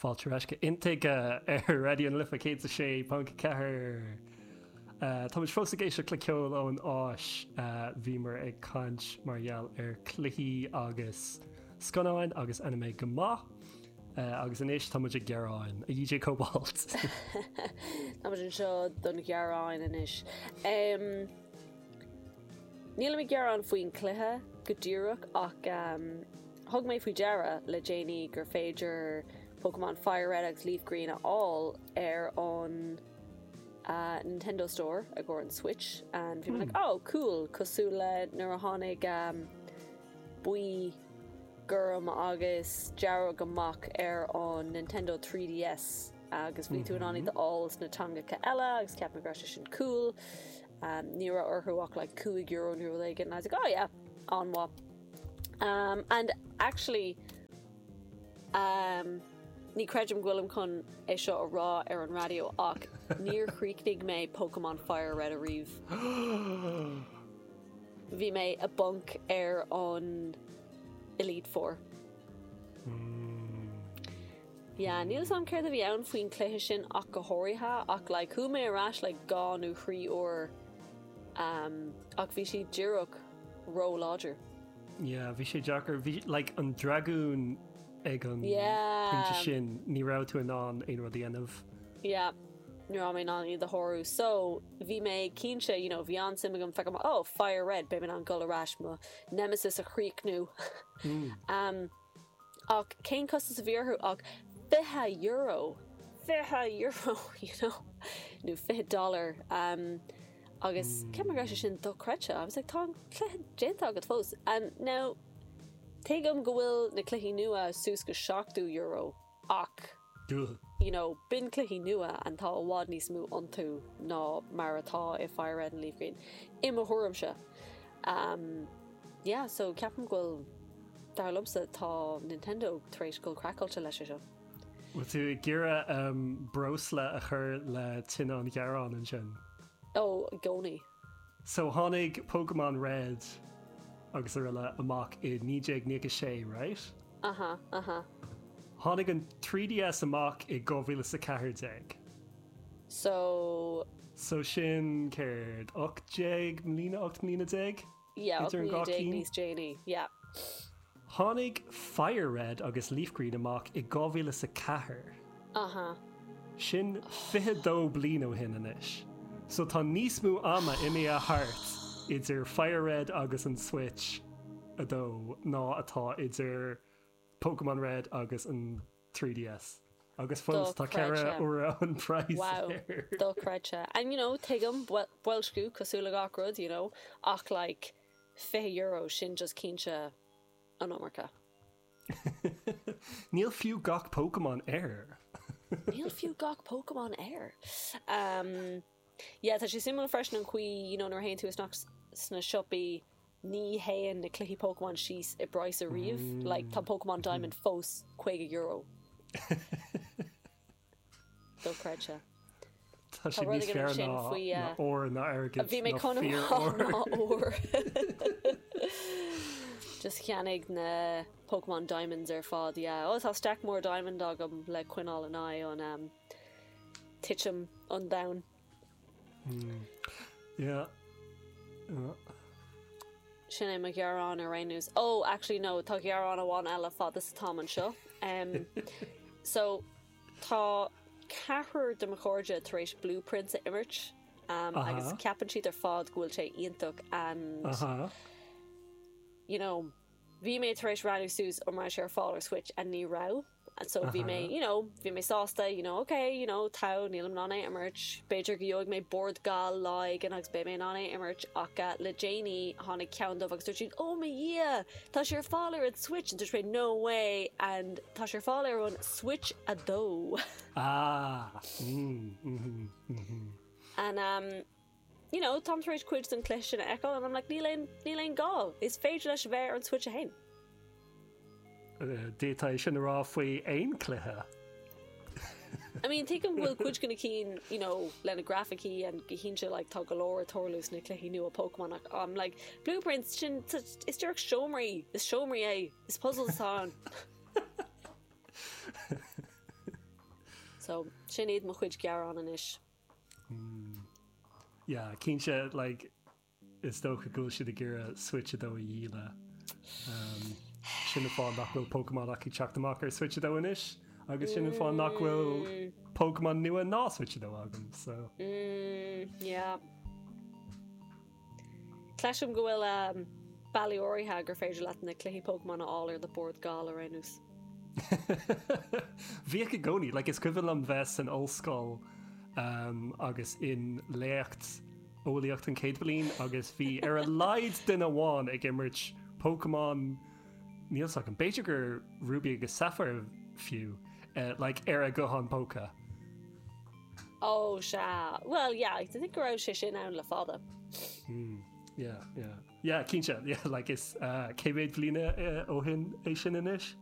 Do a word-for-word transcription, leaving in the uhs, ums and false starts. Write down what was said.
Fáilte ar ais go Intuigthe ar Raidió na Life céad a sé ponc ceathair. Táimid fós ag éisteacht le ceol ón Áis. Bhíomar ag caint mar gheall ar cluichí agus scannáin agus anime go maith. Agus anois táimid ag gearán, a D J Cobalt. Táimid anseo don ghearán anois. Nílim ag gearán faoin cluiche go díreach ach thug mé faoi deara le déanaí gur féidir Pokemon Fire Red agus Leaf Green a fháil ar an uh, Nintendo Store i gcomhair an Switch and bhí mé like, oh cool, cosúil le nuair a tháinig um, buí, gorm agus dearg amach ar an Nintendo three D S agus bhí tú in ann iad a fháil sna teangacha eile agus ceap mé go raibh sé sin cool. Um, ní raibh orthu ach like cúig euro nó rud éigin and I was like, "Oh yeah, an-mhaith." Um, and actually um, ní creidim go bhfuilim chun é seo a rá ar an raidió ach níor chríochnaigh mé Pokemon Fire Red ariamh. Bhí mé i bponc ar an Elite Four. Yeah, níl am céard a bhí ann faoin cluiche sin ach go háirithe ach like, chuaigh mé ar ais like, dhá nó trí uair um, ach bhí sé díreach ró-láidir. Yeah, bhí sé deacair, bhí like, an dragún ag an Yeah. pointe sin, ní raibh tú in ann aon rud a dhéanamh. Yeah, ní raibh mé in ann iad a shárú. So bhí mé cinnte, you know, bhí an-suim agam feiceáil, oh, Fire Red, beidh mé in ann dul ar ais mo Nemesis a chríochnú. um, ach cén costas a bhí orthu ach fiche euro, fiche euro, you know, nó fiche dollar um, agus mm. Cé sé sin dochreidte. I was like, tá an cluiche déanta agat fós. And now tuigim go bhfuil na cluichí nua suas go seachtó euro ach Duh. you know, b'in cluichí nua and tá i bhfad níos mó iontu ná mar atá i Fire Red and Leaf Green. I mo thuairimse. Um, yeah, so ceapaim go bhfuil, dar liomsa, tá Nintendo tar éis dul craiceáilte leis seo. Bhfuil tú ag iarraidh um, breosla a chur le tine an ghearáin ansin? Ó, i gcónaí. So tháinig Pokemon Red agus araile amach i naoi déag nócha sé, right? Aha, aha. Tháinig an three D S amach i dhá mhíle is a ceathair déag. So So sin céard, ocht déag mbliana, ocht mbliana déag? Yeah, Idir an dhá déag cinn? níos déanaí. Yeah. Tháinig Fire Red agus Leaf Green amach i dhá mhíle is a ceathair. Aha. Sin fiche dó bliain ó shin anois. So tá níos mó ama imithe thart idir Fire Red agus an Switch a dó ná atá idir Pokemon Red agus an three D S. Agus fós tá ceithre Dochreidte. uair an price Wow, air. dochreidte. And you know, tuigim boilsciú cosúil le gach rud, you know, ach like fiche euro sin just cinnte an iomarca. Níl fiú gach Pokemon air. Níl fiú gach Pokemon air. Um, yeah, tá sé suimiúil freisin an chaoi, you know, nuair a théann tú isteach sna siopaí, ní théann na cluichí Pokemon síos i bpraghas ariamh, mm. like tá Pokemon Diamond fós caoga euro. Dochreidte. Tá sé Tá rud níos éigin fearr ansin ná faoi, ná uh, ór ná airgead Bhí mé ná chun fíor ná ór. ór. Just cheannaigh na Pokemon Diamonds ar fad, yeah. Ó, tá stack mór diamond agam le coinneáil in aghaidh an um, titim an domhain. Yeah. Yeah. Sin é mo ghearán ar aon nós. Oh, actually no, tá gearán amháin eile fad is atáim anseo. Um, so tá ceathrar de mo chairde tar éis Blueprints a imirt um, Aha. agus ceapann siad ar fad go bhfuil sé iontach and Aha. you know, bhí mé tar éis roghnú suas an raibh sé ar fáil ar Switch and ní raibh. And so bhí mé, you know, bhí mé sásta, you know, okay, you know, tá, nílim in ann é imirt, b'fhéidir go gheobhaidh mé bord gal lá éigin agus beidh mé in ann é imirt ach uh, le déanaí tháinig ceann dóibh agus dúirt siad, "Oh my Dhia, tá sé ar fáil ar an Switch," and dúirt mé, "No way," and tá sé ar fáil ar an Switch a dó. Ah. Mm, mm, mm, And um, you know, táim tar éis cuid den chluiche sin a fheiceáil and I'm like, níl aon níl aon gá. Is féidir leis a bheith ar an Switch a haon. D'fhéadfá sin a rá faoi aon cluiche. I mean, tuigim go bhfuil cuid de na cinn, you know, lena grafaicí and go cinnte like tá go leor ag tarlú sna cluichí nua Pokemon ach um, like Blueprints sin t- is díreach seomraí, is seomraí é, is puzzles atá ann. So sin iad mo chuid gearán anois. Yeah, cinnte like, is dócha go bhfuil siad ag iarraidh Switch a dó a dhíol. Um, sin an fáth nach bhfuil Pokémon ach teacht amach ar Switch a dó anois, agus sin an fáth nach bhfuil Pokémon nua ná Switch a dó agam so. Mm, yeah. Cloisim go bhfuil um, bealaí áirithe gur féidir leat na cluichí Pokémon a fháil ar do Bord Gála ar aon nós. Bhíodh i gcónaí, like, is cuimhin liom bheith san ollscoil um, agus in léacht eolaíocht an chéad bhliain agus bhí ar a laghad duine amháin ag imirt Pokémon níl a fhios agam b'fhéidir gur Ruby agus Sapphire fiú uh, like, ar a guthán póca. Oh sea well yeah, I think go raibh sé sin ann le fada. Mm, yeah, yeah. Yeah, cinnte, yeah, like is uh, cé mhéad bliain uh, ó shin é sin anois?